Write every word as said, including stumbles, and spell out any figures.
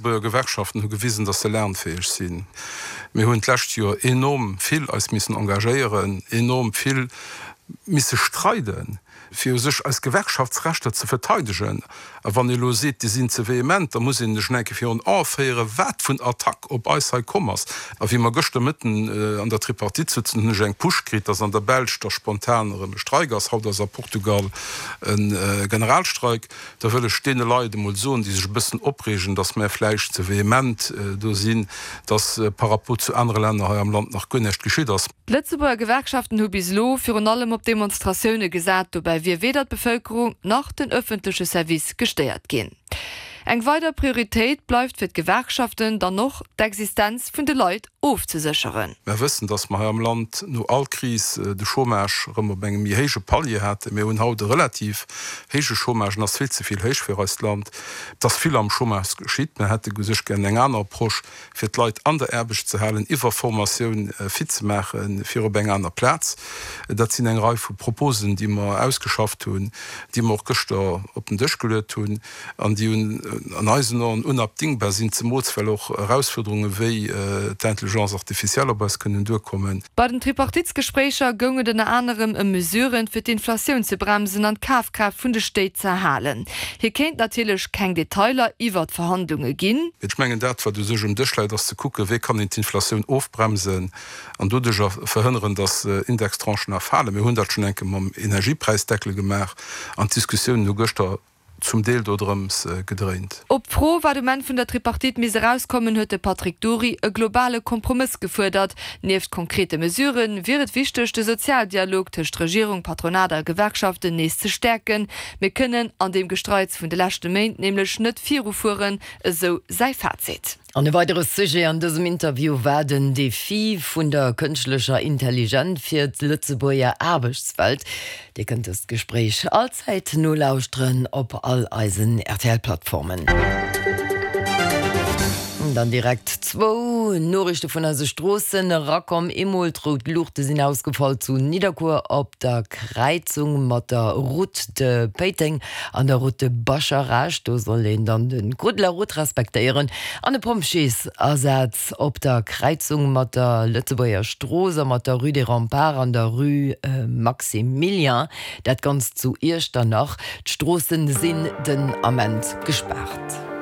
D'Lëtzebuerger Gewerkschaften hu gewisen, datt se lernfäeg sinn. Mir hunn d'lescht Joer enorm vill eis missen engagéieren, enorm vill misse streiden, fir u sech eis Gewerkschaftsrechter ze verteidegen. A wann ee elo seet, déi sinn ze vehement, da muss een sech eng Kéier virun Ae féieren, wat vun Attack op eis hei komm ass. A wéi mer gëschter Mëtten an der Tripartite souzen, hunn ech eng Push kritt, dass an der Belsch da spontan erëm e Streik ass. Haut ass a Portugal e Generalstreik. Da wëll ech deene Leit emol soen, déi sech e bëssen opreegen, dass mär vläicht ze vehement do sinn, dass par rapport zu anere Länner hei am Land nach guer näischt geschitt ass. D'Lëtzebuerger Gewerkschaften hu bis elo virun allem op Demonstratioune gesat. Dobäi wier weder d'Bevëlkerung nach den ëffentleche Service gestéiert ginn. Eng weider Prioritéit bleift fir d'Gewerkschaften dann och, d'Existenz vun de Leit ofzesécheren. Mer wëssen, dass mer hei am Land no all Kris de Chômage erëm op engem méi héije Palier haten. Mir hunn haut e relativ héije Chômage, en ass vill ze vill héich fir eist Land. Et ass vill am Chômage geschitt. Mer hätte u sech gär eng aner Approche, fir d'Leit an der Aarbecht ze halen, iwwer Formatioun fit ze maachen, fir op eng aner Plaz. Dat sinn eng Rei vu Proposen, déi mer ausgeschafft hunn, déi mer och gëschter op den Dësch geluet hunn an déi an eisen Aen unabdingbar sinn, zemools well och Erausfuerderunge wéi d'Intelligence artificielle op eis kënnen duerkommen. Bei den Tripartitsgespréicher goung et ënner anerem ëm Mesuren, fir d'Inflatioun ze bremsen an d'Kafkraaft vun de Stéit ze erhalen. Hie kéint natierlech keng Detailer iwwer d'Verhandlunge ginn. Ech mengen, dat, wat u sech um Dësch läit, ass ze kucken, wéi kann een d'Inflatioun ofbremsen an doduercher verhënneren, datt Indextranchen erfalen. Mir hunn dat schonn eng Kéier mam Energiepräisdeckel gemaach an d'Diskussiounen hu gëschter zum Deel dodrëms gedréint. Op d'Fro, wat um Enn vun der Tripartite misst erauskommen, huet de Patrick Dury e globale Kompromëss gefuerdert. Nieft konkrete Mesurë wier et wichteg, de Sozialdialog tëscht Regierung, Patronat a Gewerkschaften nees ze stäerken. Mir kënnen an deem Gestreits vun de leschte Méint nämlech net virufueren, esou säi Fazit. An e weidere Sujet an dësem Interview war den Defi vun der kënschtlecher Intelligent fir d'Lëtzebuerger Aarbechtswelt. Dir kënnt dëst Gespréich allzäit nolauschteren op all eisen R T L-Plattformen. Dann direkt zwou Noriichte vun eise Stroossen erakomm. Eemol d'rout Luuchte sinn ausgefall zu Nidderkuer op der Kräizung mat der Route de Péiteng an der Route de Bascharage. Do soll een dann de Code de la route respektéieren. An e Pompjeesasaz op der Kräizung mat der Lëtzebuerger Strooss a mat der Rue des Remparts an der Rue Maximilien. Dat Ganzt zu Iechternach. D'Stroosse sinn den Ament gespaart.